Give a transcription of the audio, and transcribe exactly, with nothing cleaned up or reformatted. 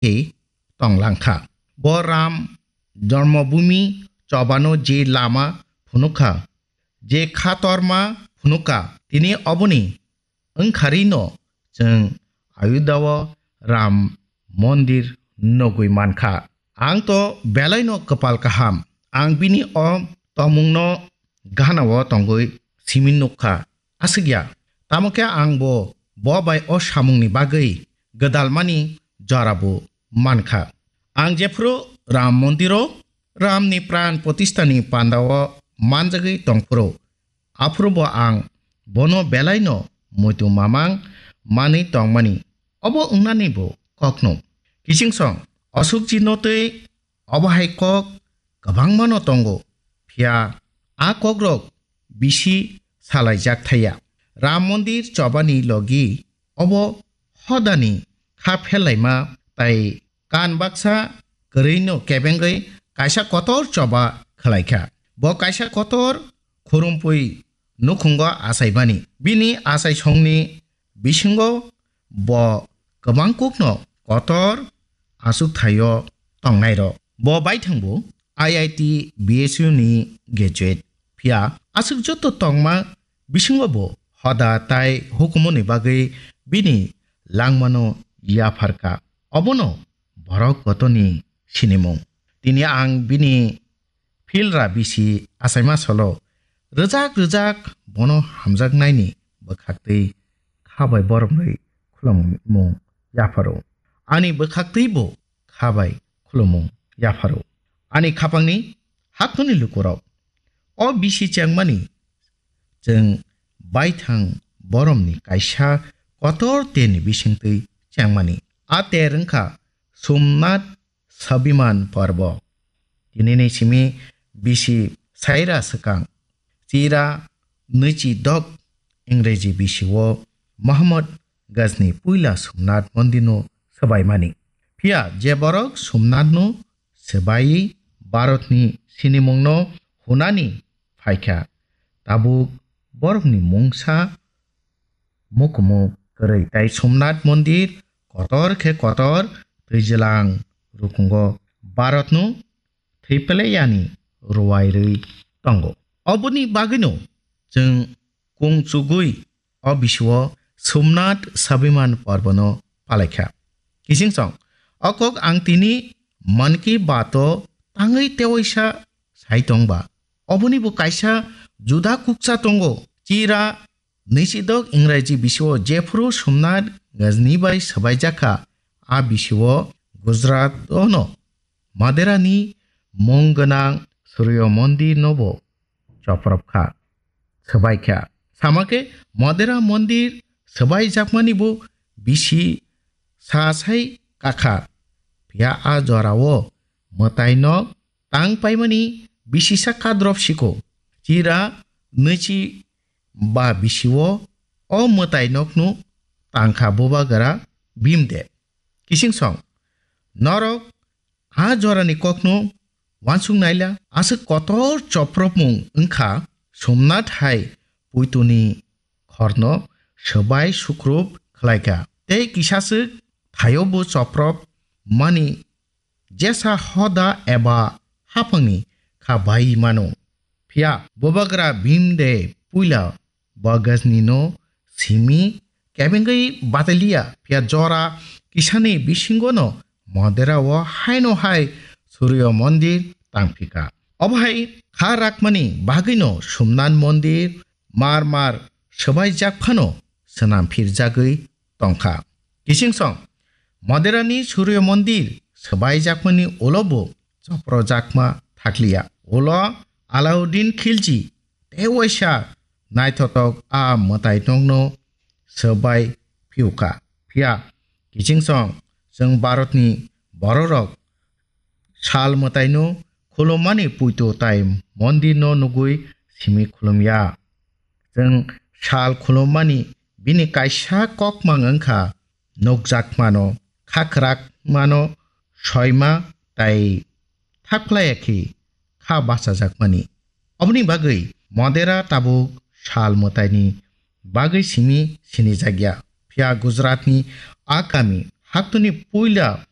khe tong langkha. Bo Ram Janmabhoomi chobano je lama phunukha, je khatorma phunukha, tini oboni wngkharino chwng Ayodhya-o Ram Mondir nugwi mankha. Ang to belaino kwpal kaham, ang bini o tongmungno ganao tongwi simi nukha. Aswkya, tamo khe ang bo, bo bai o samungni bagwi gwdalmani jorabo mankha. Ang jephuru Ram Mondiro Ramni pran protishtani pandao manjagwi tongphuru, aphuru bo ang bono belaino muitu mamang manwi tongmani, obo wngnani bo kokno. Kiching song, Ashokjino tei obo hai kok kwbangmano tongo, phiya a kokrok bisi salaijak thaya. Ram Mondir chobani logi obo hodani kha phelaima tai kan baksa kwrwino kebengwi kaisa kotor choba khwlaikha. Bo kaisa kotor khurumpui nukhungo achaimani. Bini achaisongni bisingo bo kwbang kokno kotor achuk thaio tongnairok. Bo baithangbo I I T B S U ni graduate. Phiya aswk joto tongma bisingo bo hoda tai hukumuni bagwi bini langmano yapharkha. Obono borok kotoni sinimung. Tini ang bini philra bisi achaima solo rwjak rwjak bono hamjaknaini bwkhaktwi kha bai boromrwi khulumung yapharo. Ani bwkhaktwi bo kha bai khulumung yapharo. Ani khapangni haktoni lukurok, o bisi chengmani chwng baithang boromni kaisa kotor terni bisingtwi chengmani. A ter wngkha Somnath Swabiman Parbo. Tinini simi bisi saira swkang, chira nwichi dok Ingreji bisio Mohammad Ghazni puila Somnath Mondirno swbaimani. Phiya je borok Somnathno swbaiwi Bharatni sinimungno hunani phaikha, tabuk borokni mungsa mukumu kwrwi tai Somnath Mondir kotor khe kotor twijlang rukungo Bharatno thwi pele yani ruwai rwi tongo. Oboni bagwino chwng kung chugwi o bisio Somnath Swabiman Parbono palaikha. Kiching song, o kok ang tini Mann Ki Baat o tangwi tewaisa sai tongba. Oboni bo kaisa juda kuksa tongo. Chira nwichidok Ingreji bisio jephuru Somnath Ghazni bai swbaijakha, a bisio Gujarat ono Maderani mung gwnang Suryo Mondir nobo choprop kha, swbai kha. Sama khe Modera mondir swbai jakmani bo bisi sa sai kakha. Phiya a jorao mwtai nok tang paimani bisi sa kadrop siko. Chira nwichi ba bisio o mwtai nokno tangkha bubagra Bhimdev. Kising song, norok a jorani kokno wansuk naila. Aswk kotor chopropmung wngkha Somnath hai puituni khorno swbai sukrup khlaikha. Tei kisaswk thaio bo choprop mani jesa hoda eba haphangni kha bai mano. Phiya bubagra Bhimdev puila Bhagatni no simi kebengwi bataliya, phiya jora kisani bisingo no Modera o haino hai Suryo mondir tangphika. Obo hai kha rakmani bagwi no Somnath mondir mar mar swbaijak phano swnam phirjagwi tongkha. Kising song, Modera ni Suryo mondir swbaijakmani ulo bo chopro jakma thakliya. Ulo Alauddin Khilji tei waisa naithotok a mwtai nokno swbai phiukha. Phiya kiching song chwng Bharatni bororok sal mwtaino khulummani puito tai mondirno nugwi simi khulumya. Chwng sal khulummani bini kaisa kokmang wngkha nukjakmano, kha kwrakmano, soima tai thakphlaiya khe kha bachajakmani. Oboni bagwi Modera tabuk sal mwtaini bagwi simi sinijakya. Phiya Gujaratni a kami haktwni puila